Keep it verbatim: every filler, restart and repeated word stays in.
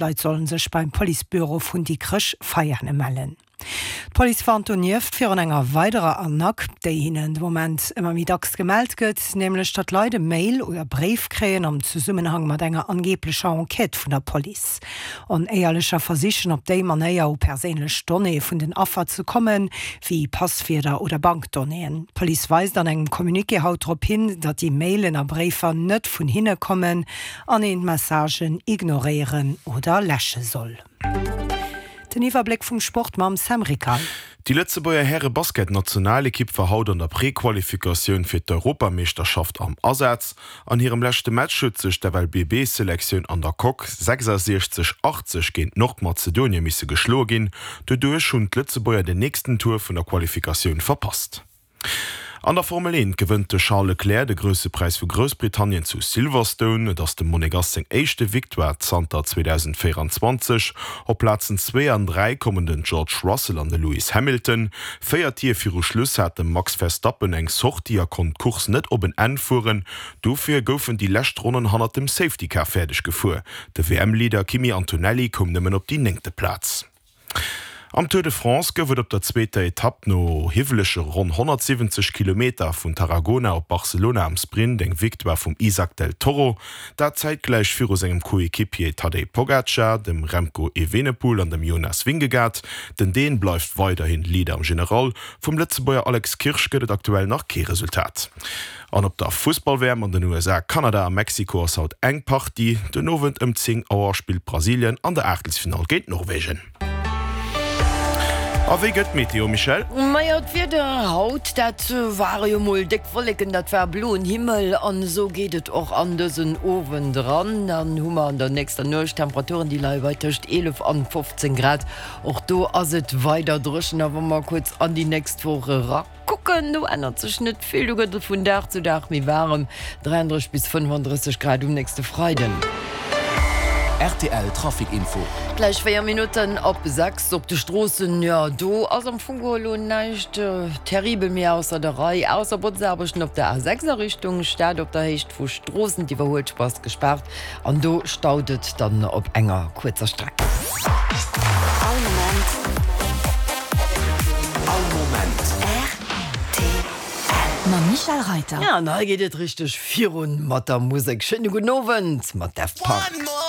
D'Leit sollen sech beim Policebüro vun Dikrech Veiane mellen. D'Police warnt donieft virun enger weiderer Arnaque, déi hinnen de Moment ëmmer méi dacks gemellt gëtt, nämlech datt Leit e Mail oder Bréif kréien am Zesummenhang mat enger angeeblecher Enquête vun der Police. Onéierlecher versichen op déi Manéier u perséinlech Donnéeë vun den Affer ze kommen, wéi Passwierder oder Bankdonnéeën. D'Police weist an engem Communiqué haut drop hin, datt déi Mailen a Bréifer net vun hinne kommen an een d'Messagen ignoréieren oder läsche soll. Den Iwwerbléck vum Sport mam Sam Rickal. Déi Lëtzebuerger Häre-Basketnationalekipp war haut an der Prequalifikatioun fir d'Europameeschterschaft am Asaz. An hirem leschte Match huet sech d'FLBB-Selektioun an der Coque sechsasiechzeg, achtzeg géint Nordmazedonie misse geschloe ginn. Doduerch hunn d'Lëtzebuerger den nächsten Tour vun der Qualifikatioun verpasst. An der Formel eent gewënnt de Charles Leclerc de Grousse Präis vu Groussbritannien zu Silverstone. Et ass dem Monegass seng éischte Victoire zanter zweedausendvéieranzwanzeg. Op Plazen zwee an dräi kommen den George Russell an de Lewis Hamilton. Véier Tier viru Schluss hat de Max Verstappen eng Sortie a konnt d'Course net op en Enn fueren. Dofir goufen déi lescht Ronnen hannert dem Safety Car fäerdeg gefuer. De W M-Leader Kimi Antonelli koum nëmmen op déi néngte Plaz. Am Tour de France gouf et op der zweeter Etapp no hiwwelege ronn honnertsiwwenzeg Kilometer vun Tarragona op Barcelona am Sprint eng Victoire vum Isaac del Toro, dat zäitgläich viru sengem Coequipier Tadej Pogacar, dem Remco Evenepoel an dem Jonas Vingegaard. Den Dän bleift weiderhin Leader am General. Vum Lëtzebuerger Alex Kirsch gëtt et aktuell nach kee Resultat. An op der Fussball-W M an den U S A, Kanada a Mexiko ass haut eng Partie. Den Owend ëm zéng Auer spillt Brasilien an der Aachtelsfinall géint Norwegen. A wéi gëtt d'Meteo, Michèle? Majo, d'Wieder haut, dat ware jo mol déck Wolleken, dat war bloen Himmel an esou geet et och an dësen Owend eran. Dann hu mer an der nächster Nuecht Temperaturen, déi leie bei tëscht eelef an fofzéng Grad. Och do ass et weider dréchen. A wa mer kuerz an déi nächst Woch erakucken, do ännert sech net vill, do gëtt et vun Dag zu Dag méi waarem, dräianddrësseg bis fënnefandrësseg Grad um nächste Freiden. R T L Trafic Info. Gläich véier Minutten op sechs op de Stroossen, jo do ass am Fong geholl elo näischt terribel méi ausser der Rei, ausser Botzaarbechten op der A sechs a Richtung Stad op der Héicht vu Stroossen. D'Iwwerhuelspuer ass gespaart an do staut et dann op enger kuerzer Streck. All Moment. All Moment. R T L. Mam Michèle Reyter. Ja, an hei geet et richteg virun mat der Musek. Schéine gudden Owend mat Daft Punk.